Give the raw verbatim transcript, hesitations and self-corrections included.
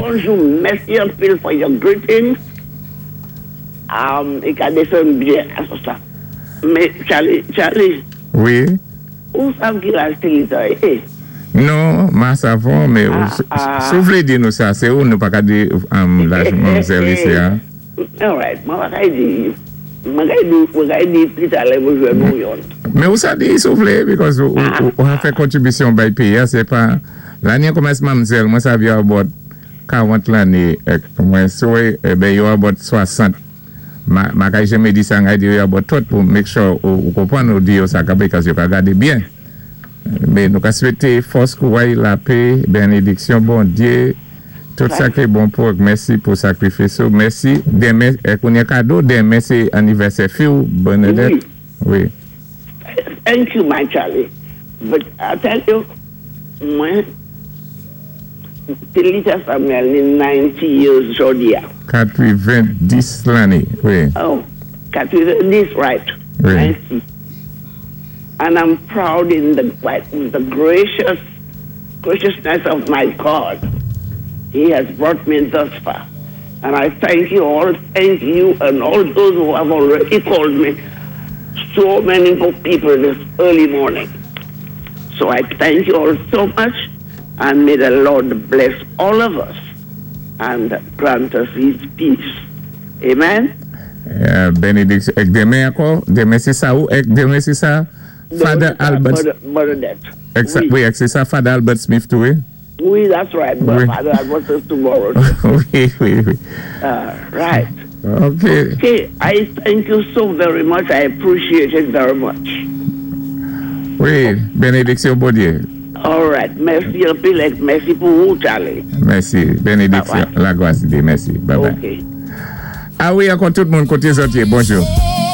Bonjou, mèsi anpil for your greetings. Um, i ka désann byen a sa. Mé Charlie, Charlie, Wi. Ou sav ki laj Tilita yé? Non, ma savon, mé Ah, ah. si ou vlé di nou sa, sé ou nou pa ka di um, laj manmzèl isi, en? All right, mwen pa kay di, mwen kay di, mwen kay di pli talè mwen jwenn nou yon. Mé ou sa di si ou vlé, because ou, ou, ou a fè kontribisyon bay péyi, sé pa, lanni kòmans manmzèl, mwen sav yo about karant lanné, ek, mwen souwé, eh ben yo about swasant. Ma, ma kay jeme di sa ngay di yo about tout pou make sure ou, ou konpwann ou di yo sa ka because yo ka gadé byen. Mé nou ka swété fòs kouway, lapè, benediksyon Bondyé, tout sa ki bon pou mèsi pou sakrifis ou, mèsi, denmen, eh, kounye kado, denmen sé anivèsè fi ou, Bernadette. Wi. Thank you, my Charlie. But I tell you, mwen, Tilita Samuel ni ninety years jòdi a. katwéven-dis lanné, wi. Oh, katwéven-dis, right. Wi. ninety. And I'm proud in the, the gracious graciousness of my God. He has brought me thus far. And I thank you all, thank you and all those who have already called me. So many good people this early morning. So I thank you all so much, and may the Lord bless all of us and grant us his peace. Amen. Euh, benediksyon. Ek denmen ankò, denmen sé sa ou, ek denmen sé sa, Father Albert, Bernadette. ek sa, Wi. Wi, ek sé sa Father Albert Smith tou, wi? Wi, that's right. Wi. Father Albert is tomorrow. Wi, wi, wi. Uh, right. Ok. Okay, I thank you so very much. I appreciate it very much. Wi, benediksyon Bondyé. All right. Mèsi anpil, ek mèsi pou ou, Charlie. Mèsi, benediksyon, Bye bye. Lagwas di, mèsi. Bye bye. Okay. A wi, ankò tout moun koté zòt yé, bonjou.